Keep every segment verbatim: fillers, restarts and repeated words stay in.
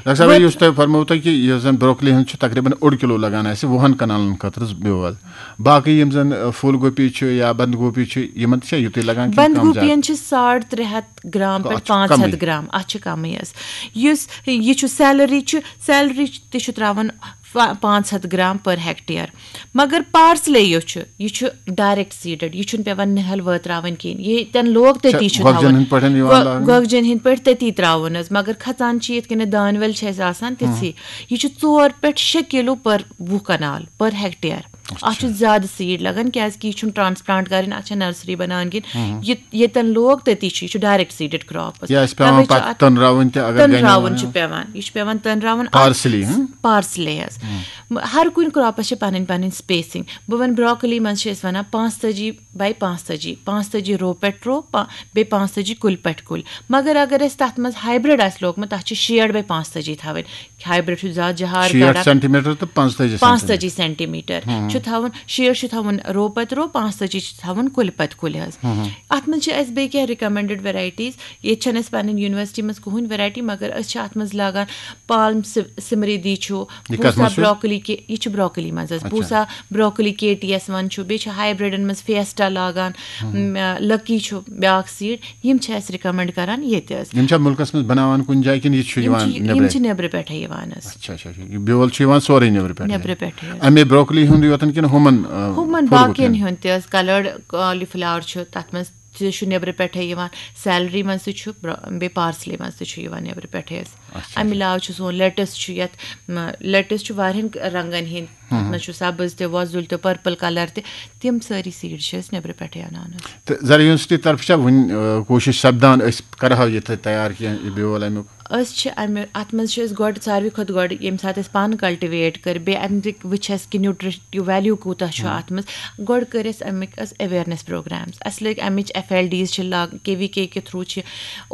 Doctor صٲب، یُس تۄہہِ فرموو تۄہہِ کہِ یُس زَن بروکلی ہُنٛد چھُ تقریباً اوٚڑ کِلوٗ لگان اَسہِ وُہَن کنالَن خٲطرٕ بیول، باقٕے یِم زَن، ٲ، پھول گوپی چھُ یا بند گوپی چھُ، یِمَن تہِ چھا یُتُے لگان کِنہٕ کم زیادٕ؟ بندگوپین چھِ ساڑ ترٛےٚ ہَتھ گرام پٮ۪ٹھ پانٛژھ ہَتھ گرام، اَتھ چھِ کمٕے حظ۔ یُس یہِ چھُ سیلری چھُ، سیلری تہِ چھُ تراوان پانٛژھ ہَتھ گرام per hectare۔ مگر پارسلے یُس چھُ، یہِ چھُ direct seeded، یہِ چھُنہٕ پٮ۪وان نِہَل وٲتراوٕنۍ کِہیٖنۍ۔ ییٚتٮ۪ن لوگ تٔتی چھُ تھاوُن۔ گۄگجن ہٕنٛدۍ پٲٹھۍ یِوان لاگنہٕ؟ گۄگجن ہٕنٛدۍ پٲٹھۍ تٔتی تراوُن حظ، مگر کھژان چھِ یِتھ کٔنۍ دانہِ ول چھِ اَسہِ آسان تِژھٕے۔ یہِ چھُ ژور پٮ۪ٹھ شےٚ کِلوٗ per وُہ کنال per hectare۔ اَتھ چھُ زیادٕ سیٖڈ لگان، کیازِ کہِ یہِ چھُنہٕ ٹرانسپلانٹ کرٕنۍ، اَتھ چھےٚ نرسری بناوٕنۍ کِہیٖنۍ۔ یہِ ییٚتٮ۪ن لوگ تٔتی چھُ، یہِ چھُ direct seeded crop۔ یہِ آسہِ پٮ۪وان پَتہٕ تٔنراوٕنۍ تہِ، اگر گَنہِ تٔنراوُن وَنہِ چھُ پٮ۪وان، یہِ چھُ پٮ۪وان تٔنراوُن۔ پارسلی، ہٕنٛہ؟ پارسلے حظ۔ ہر کُنہِ کراپس چھِ پنٕنۍ پنٕنۍ spacing۔ بہٕ وَنہٕ، بروکلی منٛز چھِ أسۍ وَنان پانٛژتٲجی by پانٛژتٲجی، پانٛژتٲجی رو پٮ۪ٹھ رو، پا-، بیٚیہِ پانٛژتٲجی کُلۍ پٮ۪ٹھ کُلۍ۔ مگر اگر اَسہِ تَتھ منٛز hybrid آسہِ لوگمُت، تَتھ چھِ شیٹھ by پانٛژتٲجی تھاوٕنۍ۔ ہایبرڈ چھُ زیادٕ جہار شیٹھ کڑان۔ سینٹی میٹر تہٕ پانٛژتٲجی سینٹی میٹر۔ پانٛژتٲجی سینٹی میٹر چھُ تھاوُن، شیٹھ چھُ تھاوُن رو پتہٕ رو، پانٛژتٲجی چھُ تھاوُن کُلہِ پتہٕ کُلہِ حظ۔ اَتھ منٛز چھِ اَسہِ بیٚیہِ کینٛہہ recommended varieties۔ ییٚتہِ چھَنہٕ اَسہِ پنٕنۍ یونیورسٹی منٛز کٕہٕنۍ variety، مگر أسۍ چھِ اَتھ منٛز لاگان پالم سِمریدی چھُ، یہِ کَتھ بوٗسا منٛز چھُ؟ بروکلی کہِ، یہِ چھُ بروکلی منٛز حظ۔ اچھا۔ بوٗسا بروکلی کے ٹی ایس وَن چھُ، بیٚیہِ چھِ ہایبرڈن منٛز فیسٹا لاگان، م، لکی چھُ بیٛاکھ سیٖڈ۔ یِم چھِ اَسہِ recommend کران ییٚتہِ حظ۔ یِم چھا مُلکَس منٛز بَناوان کُنہِ جایہِ کِنہٕ یہِ چھُ یِم یِوان چھِ، نیٚبرَے؟ یِم چھِ نیٚبرٕ پٮ۪ٹھَے یِوان حظ۔ اچھا، اچھا، اچھا۔ یہِ بیول چھُ یِوان سورُے نیٚبرٕ پٮ۪ٹھَے؟ نیٚبرٕ پٮ۪ٹھَے حظ۔ اَمے بروکلی ہُنٛد یوتَن کِنہٕ ہُمَن، آ، ہُمَن پھُل باقیَن گوٗپیَن؟ ہُنٛد تہِ حظ، colored cauliflower چھُ، تَتھ منٛز تہِ چھُ نیٚبرٕ پٮ۪ٹھَے یِوان، سیلری منٛز تہِ چھُ، برٛا-، بیٚیہِ پارسلی منٛز تہِ چھُ یِوان نیٚبرٕ پٮ۪ٹھَے حظ۔ اچھا، اَمہِ اچھا۔ علاوٕ چھُ سون lettuce چھُ یَتھ، م، lettuce چھُ واریاہَن رنٛگَن ہِنٛدۍ، تَتھ منٛز چھُ سبٕز تہِ، وۄزُل تہِ، purple colour تہِ، تِم سٲری سیٖڈ چھِ أسۍ نیٚبرٕ پٮ۪ٹھَے اَنان حظ۔ تہٕ زرعی یونیورسٹی طرفہٕ چھا وٕنہِ، آ، کوٗشِش سپدان، أسۍ کرہاو یہِ تہِ تیار کینٛہہ، یہِ بیول اَمیُک؟ أسۍ چھِ اَمہِ، اَتھ منٛز چھِ أسۍ گۄڈٕ ساروی کھۄتہٕ گۄڈٕ ییٚمہِ ساتہٕ أسۍ پانہٕ cultivate کٔر، بیٚیہِ اَمہِ تہِ وٕچھ اَسہِ کہِ nutritive value کوٗتاہ چھُ اَتھ منٛز۔ گۄڈٕ کٔرۍ اَسہِ اَمِکۍ حظ awareness programs۔ اَسہِ لٲگۍ اَمِچ F L Ds چھِ لاگ-، K V K کہِ through چھِ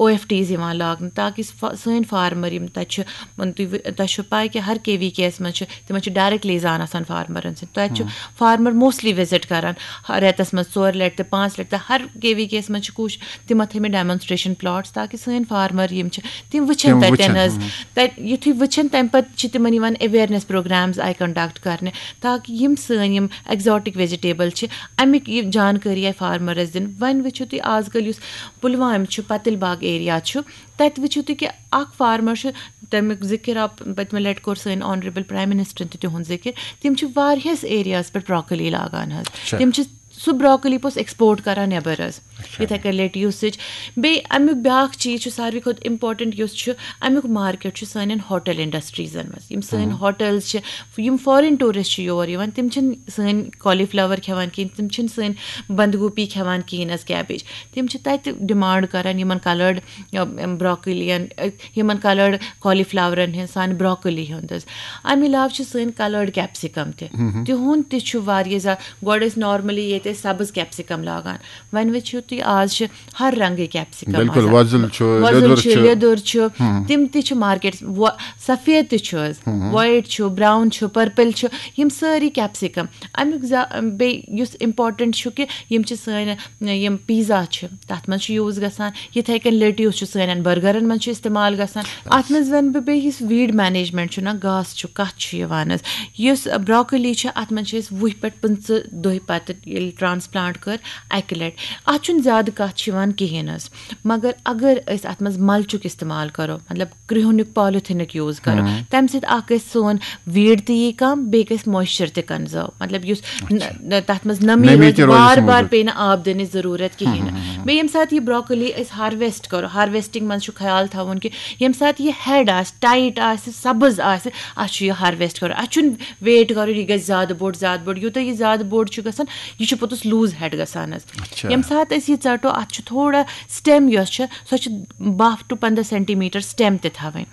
O F Ds یِوان لاگنہٕ، تاکہِ سُہ فا-، سٲنۍ فارمر یِم تَتہِ چھِ، وۄنۍ تُہۍ وٕ-، تۄہہِ چھُو پَے کہِ ہر K V Ks منٛز چھِ، تِمَن چھُ direct liaison آسان فارمرَن سۭتۍ۔ تَتہِ چھُ فارمر mostly visit کران، ہر رٮ۪تَس منٛز ژور لَٹہِ تہٕ پانٛژھ لَٹہِ تہٕ ہر K V Ks منٛز چھِ کوٗشِش، تِمَن تھٲے مٕتۍ demonstration plots، تاکہِ سٲنۍ فارمر یِم چھِ، تِم وٕچھن تِم تَتٮ۪ن وٕچھن، حظ۔ تَتہِ یُتھُے وٕچھن، تَمہِ پَتہٕ چھِ تِمَن یِوان awareness programs آیہِ conduct کرنہٕ، تاکہِ یِم سٲنۍ یِم exotic vegetable چھِ، اَمِکۍ یہِ جانکٲری آیہِ فارمرَس دِنہٕ۔ وۄنۍ وٕچھِو تُہۍ، آز کل یُس پُلوامہِ چھُ، پتٕلۍ باغ area چھُ، تَتہِ وٕچھِو تُہۍ کہِ اَکھ فارمر چھُ، تَمیُک ذِکِر آو پٔتمہِ لَٹہِ کوٚر سٲنۍ honourable prime ministerن تہِ تِہُنٛد ذِکِر، تِم چھِ واریاہَس areaہَس پٮ۪ٹھ بروکلی لاگان حظ۔ اچھا۔ تِم چھِ سُہ بروکلی پوٚتُس export کران نٮ۪بر حظ۔ اچھا۔ یِتھَے کٔنۍ lettuceٕچ۔ بیٚیہِ اَمیُک بیٛاکھ چیٖز چھُ ساروی کھۄتہٕ important یُس چھُ، اَمیُک market چھُ سانٮ۪ن ہوٹل انڈسٹریٖزَن منٛز۔ یِم سٲنۍ ہوٹلز چھِ، یِم foreign tourist چھِ یور یِوان، تِم چھِنہٕ سٲنۍ cauliflower کھٮ۪وان کِہیٖنۍ، تِم چھِنہٕ سٲنۍ بندگوپی کھٮ۪وان کِہیٖنۍ حظ، cabbage۔ تِم چھِ تَتہِ demand کران یِمَن coloured، ٲ، بروکلیَن، ٲ، یِمَن coloured cauliflowerن ہٕنٛز، سانہِ بروکلی ہُنٛد حظ۔ اَمہِ علاوٕ چھِ سٲنۍ coloured capsicum تہِ۔ تِہُنٛد تہِ چھُ واریاہ زیادٕ، گۄڈٕ ٲسۍ normally ییٚتہِ ٲسۍ سبٕز capsicum لاگان، وۄنۍ وٕچھِو تُہۍ، آز چھِ ہر رنگٕکۍ capsicum بِلکُل، آسان۔ وۄزُل چھُ، وۄزُل لیٚدُر چھُ، چھُ۔ لیٚدُر چھُ۔ تِم تہِ چھِ market، وۄ-، سفید تہِ چھُ حظ، white چھُ، brown چھُ، purple چھُ، یِم سٲری capsicum۔ اَمیُک زیا-، بیٚیہِ یُس important چھُ کہِ یِم چھِ سٲنۍ، یِم pizza چھِ، تَتھ منٛز چھُ use گژھان۔ یِتھَے کٔنۍ lettuce چھُ سٲنٮ۪ن burgerن منٛز چھُ استعمال گژھان۔ اَتھ منٛز وَنہٕ بہٕ بیٚیہِ یُس weed management چھُ نہ، گاسہٕ چھُ، کَتھ چھُ یِوان حظ، یُس بروکلی چھِ، اَتھ منٛز چھِ أسۍ وُہہِ پٮ۪ٹھ پٕنٛژٕ دۄہہِ پَتہٕ ییٚلہِ transplant کٔر اَکہِ لَٹہِ، اَتھ چھُنہٕ زیادٕ کَتھ چھِ یِوان کِہیٖنۍ حظ۔ مگر اگر أسۍ اَتھ منٛز mulchُک استعمال کَرو، مطلب کرٛہُنیُک polytheneُک use کَرو، تَمہِ سۭتۍ اَکھ گژھِ سون weed تہِ یی کَم، بیٚیہِ گژھِ moisture تہِ conserve، مطلب یُس ن-، نہ، تَتھ منٛز نمی نمی روزِ، تہِ روزِ بار سُہ بار موٗجوٗد۔ پیٚیہِ نہٕ آب دِنٕچ ضروٗرت کِہیٖنۍ نہٕ۔ بیٚیہِ ییٚمہِ ساتہٕ یہِ بروکلی أسۍ harvest کَرو، harvesting منٛز چھُ خیال تھاوُن کہِ ییٚمہِ ساتہٕ یہِ head آسہِ، tight آسہِ، سبٕز آسہِ، اَتھ چھُ یہِ harvest کَرُن۔ اَتھ چھُنہٕ wait کَرُن یہِ گژھِ زیادٕ بوٚڑ، زیادٕ بوٚڑ۔ یوٗتاہ یہِ زیادٕ بوٚڑ چھُ گژھان، یہِ چھُ پوٚتُس loose head گژھان حظ۔ اچھا۔ ییٚمہِ ساتہٕ أسۍ یہِ ژَٹو، اَتھ چھُ تھوڑا stem یۄس چھِ، سۄ چھِ باہ to پنٛداہ centimeter stem تہِ تھاوٕنۍ۔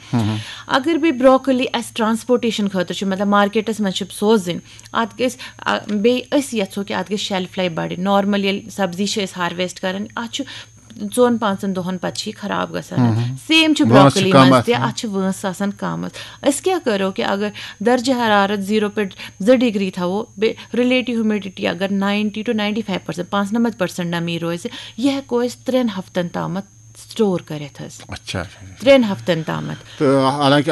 اگر بیٚیہِ بروکلی اَسہِ transportation خٲطرٕ چھُ، مطلب marketس منٛز چھِ سوزٕنۍ، اَتھ گژھِ، آ، بیٚیہِ أسۍ یَژھو کہِ اَتھ گژھِ shelf life بَڑٕنۍ۔ Normal ییٚلہِ سبزی چھِ أسۍ harvest کَران، اَتھ چھُ ژۄن پانٛژن دۄہن پتہٕ چھِ یہِ خراب گژھان۔ Same چھُ وٲنٛس چھِ بروکلی کم منٛز آسان۔ تہِ، اَتھ چھِ وٲنٛس آسان کم حظ۔ أسۍ کیٛاہ کرو کہِ اگر درجہ حرارت zero پٮ۪ٹھ زٕ degree تھاوو، بیٚیہِ relative humidity اگر ninety to ninety five percent، پانٛژنمتھ percent نمی روزِ، یہِ ہٮ۪کو أسۍ ترٛٮ۪ن ہفتن تامتھ store کٔرِتھ حظ۔ اچھا، اچھا، اچھا۔ ترٛٮ۪ن ہفتن تامتھ۔ تہٕ حالانکہ